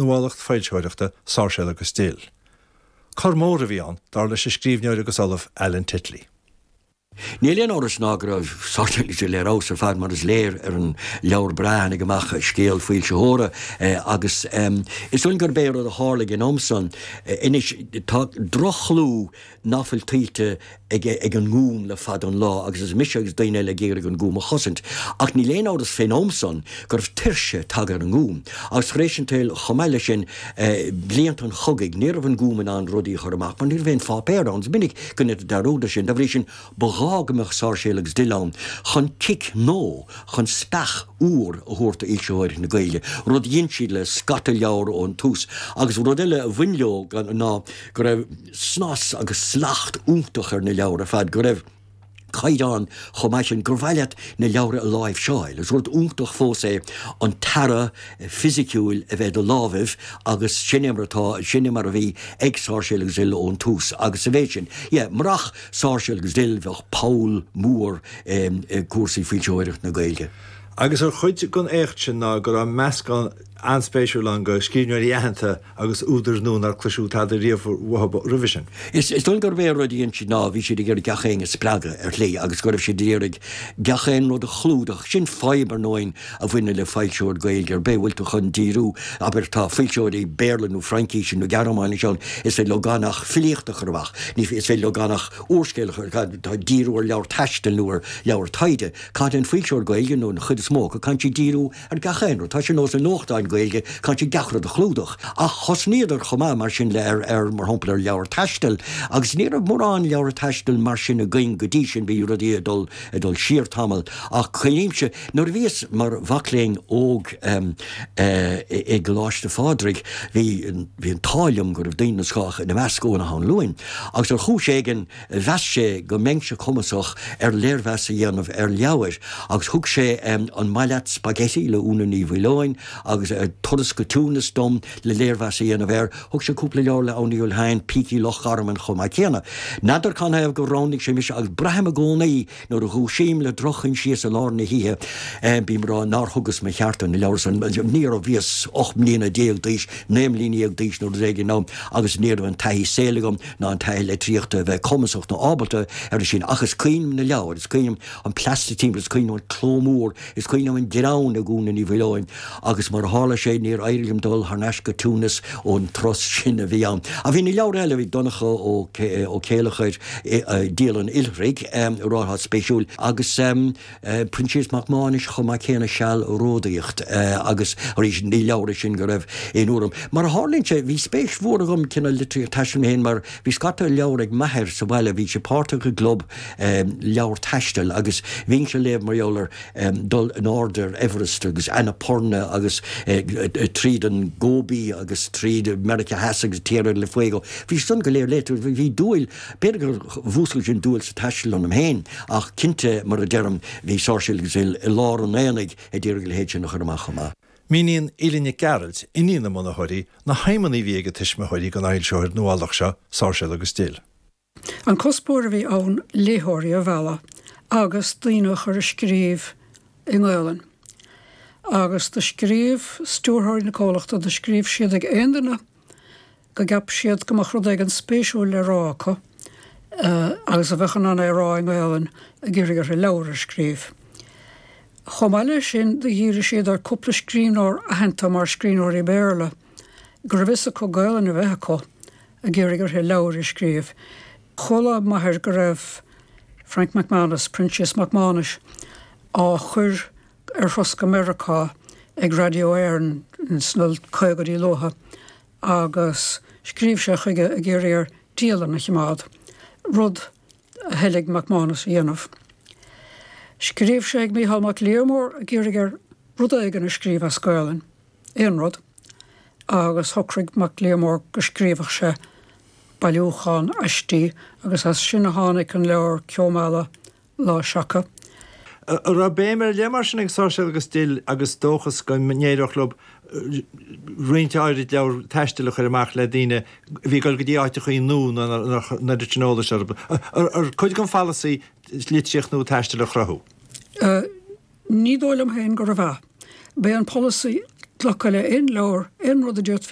Nuálacht foilsitheoireachta Sáirséal agus Dill. Cor mór a bhí ann, dar leis an scríbhneoir agus ollamh Alan Titley. Níl aon amhras ná go raibh Sáirséal agus Dill ar fheabhas ar fad mar is léir ar an leabhar breá a tháinig amach, Scéal Foilsitheora, agus is dóigh liom gurb é an rud a tharla ag an am san, anois tá droch-chlú ná fuil tuillte ag ag an nGúm le fada an lá agus is mise agus daoine eile ag iarraidh an Gúm a chosaint. Ach níl aon amhras fén am san go raibh tuirse tagtha ar an nGúm. Agus tar éis an tsaoil chomh maith leis sin, blianta an chogaidh, ní raibh an Gúm in ann rudaí a chur amach mar ní raibh aon pháipéar ann. Is minic go ndéantar dearúd air sin. Dá bhrí sin, ba ghá go mbeadh Sáirséal agus Dill ann chun cic nó chun speach úr a thabhairt d'fhoilsitheoireacht na Gaeilge, rud a dhein siad le scata leabhar ón tús. Agus rud eile a bhain leo ná go raibh. snas agus slacht iontach ar na leabhair ar fad, go raibh caighdeán chomh maith sin gur mhaith leat na leabhra a láimhseáil. Is rud iontach fós é an t-earra fisiciúil a bheith i do lámhaibh agus sin é mar atá, sin é mar a bhí ag Sáirséal agus Dill ón tús agus sa mhéid sin, yeah, murach Sáirséal agus Dill bheadh poll mór i gcúrsaí foilsitheoireacht na Gaeilge. Agus ar chuid den éacht sin ná go raibh meascán an-spéisiúil ann de scríbhneoirí aitheanta agus údair nua nár cloiseadh tada riamh uathu roimhe sin. Is dóigh liom gurb é an rud a dhein siad ná bhí siad ag iarraidh gach éinne a spreagadh ar shlí agus go raibh siad ag iarraidh gach aon rud a chlúdach. Sin fadhb, ar ndóigh, a bhaineann le foilsitheoir Gaeilge ar bith, bhfuil tú chun díriú, abair, tá foilsitheoirí Béarla nó Fraincíse nó Gearmáinise ann, is féidir leo gan ach filíocht a chur amach, ní is féidir leo gan ach úrscéal a chur, tá díriú ar leabhar taistil nó ar leabhar taighde. Caithfidh an foilsitheoir Gaeilge, nó an chuid is mó acu, caithfidh siad díriú ar gach aon rud. Tá sé ar nós na nuachtáin Gaeilge, caithfidh siad gach rud a chlúdach. Ach thosnaíodar chomh maith mar sin le ar, ar, mar shampla ar leabhair taistil agus ní raibh mórán leabhar taistil mar sin againn go dtí sin, bhí rudaí ag dul, ag dul siar tamall. Ach cuimhnímse nuair a bhíos mar mhac léinn óg i gColáiste Phádraig, bhí, bhí an t-ádh liom go raibh daoine den scoth ina measc Eoin Ó hAnluain agus ar chúis éigin, Mheas sé go mbeinnse cumasach ar léirmheas a dhéanamh ar leabhair agus thug sé An Maith Leat Spaghetti le Úna Ní Mhaoileoin agus Turas go Túnas dom le léirmheas a dhéanamh air. Thug sé cúpla leabhar le Aodh Ní Fhaolsheaghain, Pící Loch Garman chomh maith céanna. N'fheadar canathaobh gur roghnaigh sé mise agus braithim i gcónaí Nuair a dhúisím le droch-choinsias i lár na hoíche, bím ag rá nár thugas mo cheart do na leabhair san. Ní raibh, bhíos 18 mbliana d'aois, 19 mbliana d'aois nó rud éigin ann agus ní raibh an taithí saoil agam ná an taithí litríochta a bheith cumasach nó ábalta air sin. Ach is cuimhin liom na leabhair, is cuimhin liom an plastic timpeall, is cuimhin liom an cló mór, is cuimhin liom an greann ag Úna Ní Mhaoileoin agus mar a tharla sé níor éirigh liom dul thar n-ais go Túnas ón turas sin a bhí ann. Ach bhí na leabhair eile, bhí Donncha Ó Céileachair, Dialann Oilithrigh, rud spéisiúil, agus Proinsias Mac Mánais chomh maith céanna, Sealródaíocht agus arís ní leabhair sin go raibh aon urraim. Mar a tharlaíonn sé, bhí spéis mhór agam cineál litríocht taistil mé féin mar bhí scata leabhar ag m'athair sa bhaile, bhí sé páirteach i gclub leabhar taistil agus bhínnse ag léamh mar gheall ar dul in airde ar Everest agus Annapurna agus tríd an Gobi agus tríd Meiriceá Theas agus Tierra del Fuego. Bhí san go léir léite. Bhí dúil, b'fhéidir gur mhúscail sin dúil sa taisteal ionam féin ach cinnte, mar a deirim, bhí Sáirséal agus Dill i lár an aonaigh ag iarraidh a leithéid sin a chur amach chomh maith. Míníonn Aoileann Nic Gearailt, iníon na mbunaitheoirí, na haidhmeanna a bhí ag a tuismitheoirí don fhoilsitheoir nuálach seo, Sáirséal agus Dill. An cuspóir a bhí ann léitheoirí a mhealladh agus daoine a chur ag scríobh i nGaolainn. Agus do scríobh stiúrthóirí na comhlachta, do scríobh siad ag aon duine go gceap siad go mbeadh rud éigin spéisiúil le rá acu agus a bheadh in ann é a rá i nGaolainn ag iarraidh orthu leabhar a scríobh. Chomh maith leis sin do dhírigh siad ar cúpla scríbhneoir aitheanta mar scríbhneoirí Béarla go raibh fhios acu Gaolainn a bheith acu ag iarraidh orthu leabhair a scríobh. Chuala m'athair go raibh Frank McManus, Proinsias Mac Mánais, á chur ar thuras go Meiriceá ag Radio Éireann sna caogaidí luatha agus scríobh sé chuige ag iarraidh air dialann a chimeád, rud a thoiligh McManus a dhéanamh. Scríobh sé ag Mícheál Mac Liammóir ag iarraidh air rud éigin a scríobh as Gaolainn. aon rud, agus shocraigh Mac Liammóir go scríobhadh sé bailiúchán aistí agus as sin a tháinig an leabhar Ceo Meala, Lá Seaca. An raibh béim ar leith mar sin ag Sáirséal agus Dill agus dóchas go n-éireodh leo roinnt áirid leabhar taistil a chur amach le daoine a bhí ag dul go dtí áiteachaí nua nach raibh an oiread sin eolais orthu? Ar cuid den pholasaí litríocht nua taistil a chruthú? Ní dóigh liom féin gurbh ea. B'é an polasaí. glacadh le aon leabhar, aon rud a d'fhéadfaí.